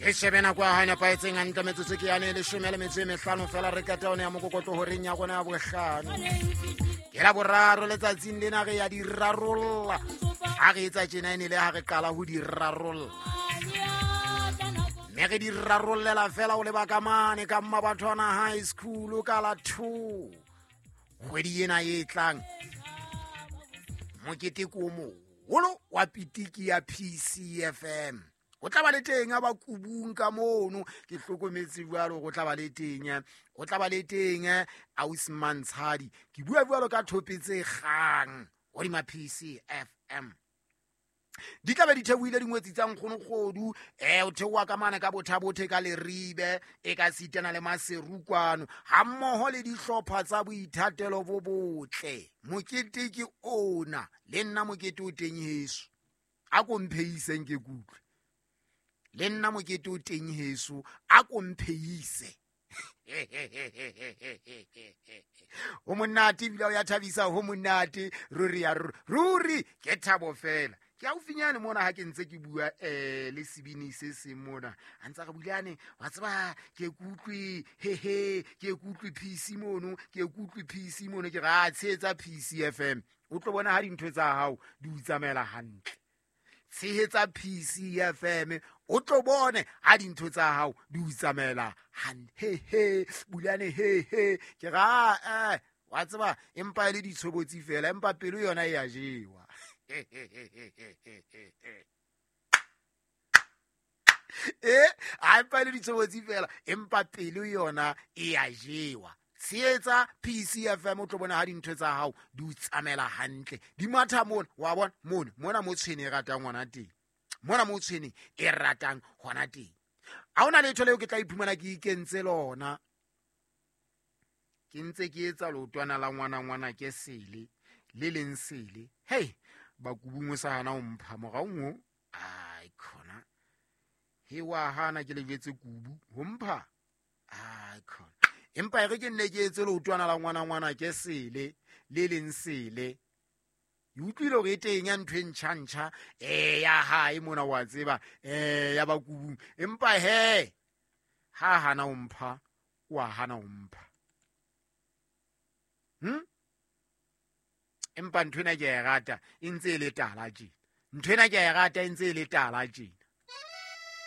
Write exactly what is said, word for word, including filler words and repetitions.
E shebe nako ya hae nepahetseng hantle, metsotso ke yane e leshome le metso e mehlano fela re qeta yone ya mokokotlo horeng ya rona ya bohlano. Ke la boraro letsatsing lena re ya di rarolla. Ha re etsa tjena e ne le ha re qala ho di rarolla. Mme re di rarollela fela o leba ka mane ka Mmabathwana High School ka la two. Kgwedi ena e tlang mokete ko moholo wa pitiki ya P C F M. O tla ba le teng a ba kubung ka mono, ke hlokometse jwalo go tla ba le teng, o tla ba le teng ausi Mantshadi. Ke bua jwalo ka thope tse kgang hodima P C F M. Di tla be di theohile dingwetsi tsa nkgonokgodu, eh o theoha ka mane ka bothabothe ka Leribe, e ka sitana le Maseru kwano, ha mmoho le dihlopha tsa boithatelo bo botle. Mokete ke ona, le nna mokete o teng heso. A ko mpheiseng ke kutlwe. Le nna mokete o teng heso, a ko mpheise. Ho monate ebile o ya thabisa, ho monate ruri ya ruri, ruri ke thabo fela. Ke haufinyane mona ha ke ntse ke bua, eh, le sebini se seng mona. A ntse a re Bulane, wa tseba ke kutlwe, he he, ke kutlwe P C mono, ke kutlwe P C mono, ke re a tshehetsa P C F M. O tlo bona ha dintho tsa hao di o tsamaela hantle. Tshehetsa P C F M, o tlo bone ha dintho tsa hao di o tsamaela hantle. He he, Bulane, he he, ke re a, eh, wa tseba empa e le ditshobotsi fela, empa pelo yona e a jewa. Eh, a empa e le ditshobotsi fela, empa pelo yona e a jewa. Tshehetsa P C F M, o tlo bona ha dintho tsa hao di o tsamaela hantle. Di matha mona, wa bona mona, mona mo tshwene e ratang hona teng. Mona mo tshwene e ratang hona teng. Ha hona letho leo ke tla iphumana ke ikentse lona. Ke ntse ke etsa leotwana la ngwana ngwana ke sele, le leng sele. Hey, bakubung o sa hana ho mpha morao ngo. Ai khona. He wa hana ke le jwetse kubu ho mpha. Ai khona. Empa e re ke nne ke etse leotwana la ngwana ngwana ke sele, le leng sele. Ke utlwile hore e teng ya ntho e ntjha-ntjha, eh, ya hae mona wa tseba, eh, ya bakubung. Empa he, ha hana ho mpha, wa hana ho mpha. Hm? Empa ntho ena ke a e rata, e ntse e le tala tjena. Ntho ena ke a e rata, e ntse e le tala tjena.